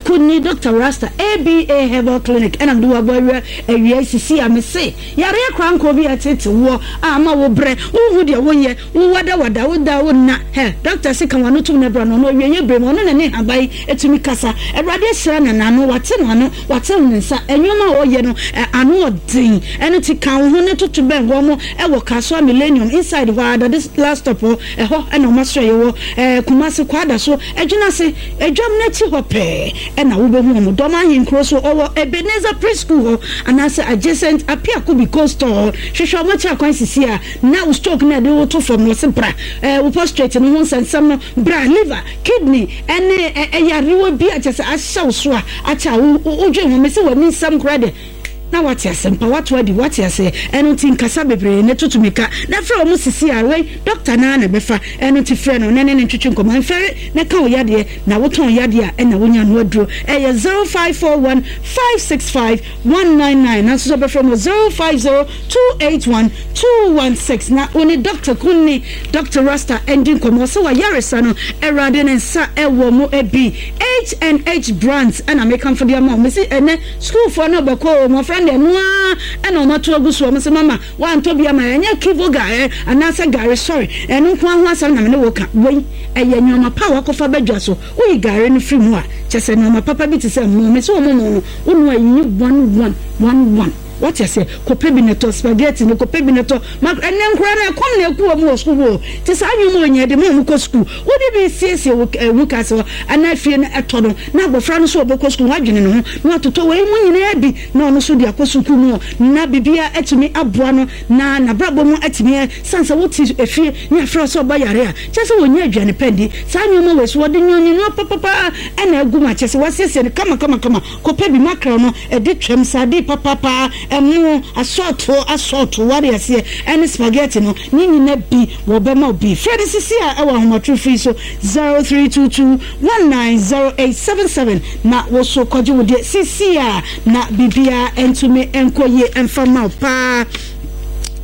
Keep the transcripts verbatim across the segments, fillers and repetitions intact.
Kunni, Doctor Rasta, A B A Herbal Clinic, ɛna mede wabɔ awia awia sisi a mese yareɛ kora nkɔ bi a ɛtete woɔ a ama wo brɛ wohu deɛ woyɛ wowadawada woda wo nna hɛ. Doctor se ka wano tom no bra no ɔno awie yɛ berɛ mu ɔno na ne haban ɛtumi kasa. Awurade ahyira no n'ano wate no ano wate ne nsa ɛnwoma a ɔyɛ no ano ɔden. Ɛno ti ka wo ho ne toto bɛn hɔ mo ɛwɔ Kasoa Millennium inside hɔ a dade last stop hɔ, ɛhɔ ɛna ɔma soro yɛwɔ ɛɛ Kumase Kwada so adwena se adwam n'akyi hɔ pɛɛ ɛna wobɛhu ɔmo. Dɔm ahenkuro so ɔwɔ Ebenezer Preschool hɔ anaasɛ adjacent Apiakobi Cold Store hɔ. Hwehwɛ ɔmo akyi akwan sisi a na wo stroke na ɛde woto fam no ɔse bra, ɛɛ wo prostate no ho nsɛnsɛm no bra, liver, kidney ɛne ɛyarewa bi a kyɛ sɛ ahyɛ wo so a akyɛ a wodwe ho mɛ sɛ w'ani nsɛm koraa deɛ na wate asɛmpa wato adi wate aseɛ. Ɛno nti nkasa bebree ne tutu mika na frɛ wɔn sisi a wei doctor naa na bɛfa. Ɛno nti frɛ no na ne ne ntwitwi nkɔmɔ mfɛre na ka wo yadeɛ na wotɔn yadeɛ a ɛna wonya no aduro. Ɛyɛ zero five four one five six five one nine nine, nanso sɛ bɛfrɛ mo zero five zero two eight one two one six na wo ne Doctor Kunni, Doctor Rasta ɛndi nkɔmɔ sɛ wayaresa no. Awurade ne nsa ɛwɔ mu bi. H and H Brands ɛna mekamfo de ama wo. Mesi ɛnɛ sukuufoɔ no bɛkɔ mmɔfra deɛ noa ɛna ɔmo ato agu so. Ɔmo sɛ mama wantɔ bi ama ɛnyɛ Kivo ga ɛ anaasɛ gari sɔre ɛno nko ho asɛm na mene wo ka. Wei ɛyɛ nneɛma pa a wakɔfa badwa so. Woyi gari no firi mu a kyɛ sɛ nneɛma papa bi te sɛ mo mesi wɔn mo no wonu ayi one one one one wate aseɛ. Kɔpɛ bi na tɔ spaghetti no, kɔpɛ bi na tɔ ma ɛnɛ nkora no ɛkɔm na ɛku wɔn wɔ sukuu hɔ. Te saa nnwom a onyɛ de ma wɔn kɔ sukuu wode bi siesie wo ɛwu kase hɔ anaa fie no ɛtɔ no na abɔfra no so ɔbɛkɔ sukuu wadwene ne ho na watotɔ wei mu nyinaa bi na ɔno nso de akɔ sukuu mu na biribiara atumi aboa no na n'abrabɔ mu atumi san sɛ wote efie ne afrɛ sɛ ɔba yare a kyɛ sɛ wɔnyɛ aduane pɛ ndi. Saa nneɛma wei so wɔde nneɛma papapa ɛna agu mu akyɛ sɛ wasiesie no kama kama kama. Kɔpɛ bi mackerel no ɛde twam sardine papapa, ɛmo asɔɔto asɔɔto ware aseɛ ɛne spaghetti no ne nyina bi wɔbɛma wo bi. Frɛ no sisi a ɛwɔ ahomatoro firi so zero three two two one nine zero eight seven seven na woso kɔgye wo deɛ sisi a na biribiara ntumi nkɔ yie mfa ma wo paa.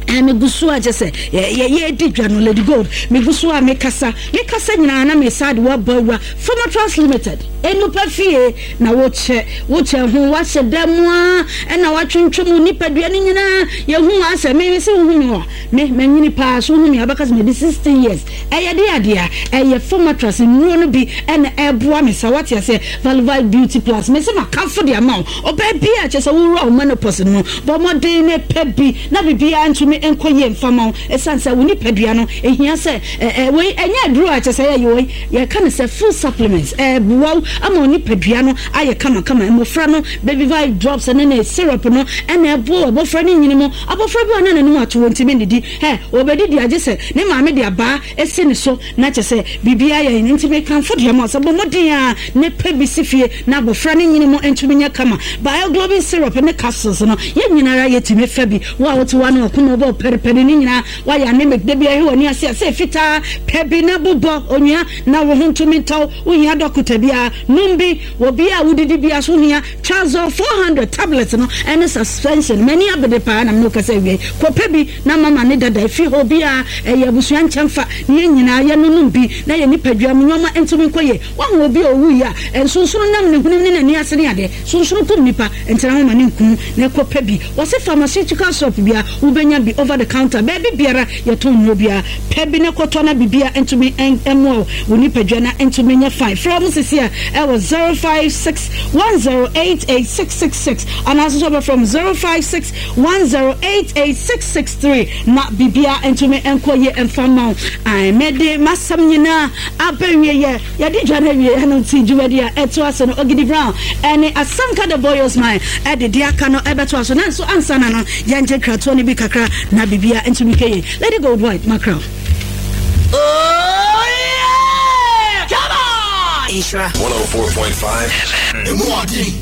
Megu so a kyɛ sɛ yɛdi dwa no. Lady Gold megu so a mekasa mekasa nyinaa na mesa de woabɔ awura Pharmatrans Limited enupa fie na wokyɛ wokyɛ ho wahyɛ da mu a ɛna watwentwem wo nipadua no nyinaa. Yɛhu asɛ me sɛ wohu me a me manyini paa so wohu me a wobɛka sɛ madi sixteen years. Ɛyɛ de adeɛ a ɛyɛ Pharmatrans nnuro no bi ɛna ɛboa me sa wate aseɛ. Valivite Beauty Plus me sɛ makamfo de ama wo. Ɔbaa bi a kyɛ sɛ wowura wo menopause no mu, bɔ mmɔden ne pɛ bi na biribiara ntumi nkɔ yie mfama wo ɛsiane sɛ wo nipadua no ɛhia sɛ wei ɛnyɛ aduro a kyɛ sɛ yɛyɛ wei yɛka no sɛ full supplements ɛboa wo ama wo nipadua no ayɛ kamakama. Mmɔfra no Baby Vibe drops ne ne syrup no ɛna ɛboa abɔfra no nyini mu. Abɔfra bi a na n'anim ato wɔ ntumi nnidi ɛ wɔbɛdidi agye sɛ ne maame de abaa esi ne so na kyɛ sɛ biribiara yɛ nti mekamfo deɛ ma sɛ bɔ mmɔden a ne pɛ bi si fie na abɔfra no nyini mu ntumi nyɛ kama. Bioglobin syrup ne capsules no yɛn nyinara yɛtumi fa bi. Wo a wote wa ne ɔkoma wobɔ pɛrepɛre ne nyinaa wayɛ anemic da bi ahwɛ w'ani ase a sɛ fitaa pɛ bi na bobɔ onua na wo ho ntumi ntɔw. Wohia dɔkota biara nom bi wɔ bi a wodidi bia so hia Trazol four hundred tablet no ɛne suspension. M'ani abede paa na mene wokasa awie. Kɔpɛ bi na mama ne dada ɛfiri hɔ biara ɛyɛ abusua nkyɛmfa ne yɛn nyinaa yɛnonom bi na yɛ nipadua mu nneɔma ntumi nkɔ yie. Wahu obi a ɔwu yi a nsonsono nam ne hunim ne n'ani ase ne adeɛ sonsono kum nipa ntena ho ma ne nkum na ɛkɔpɛ bi. Wɔse pharmaceutical shop bia wobɛnya bi, over the counter baabi biara yɛtɔn nnuro biara pɛ bi na kɔtɔ na bibia ntumi mmoa wo wo nipadua na ntumi nyɛ fine. Frɛ mo sisi a ɛwɔ zero five six one zero eight eight six six six anaasɛ sɛ wobɛfrɛ mo zero five six one zero eight eight six six three na bibia ntumi nkɔ yie mfa ma wo. Mɛde masɛm nyinaa abɛwie yɛ yɛde dwa no awie. Ɛno nti dwumadi a ɛtoa so no Ogidi Brown ɛne Asanka the Boyos man ɛde de aka no ɛbɛtoa so. Nanso ansa na no yɛngye kratoɔ no bi kakra na bibia ntumi kɛye. Lady Gold White mackerel. Oh yeah! Come on! Nhyira one oh four point five Emu ɔden.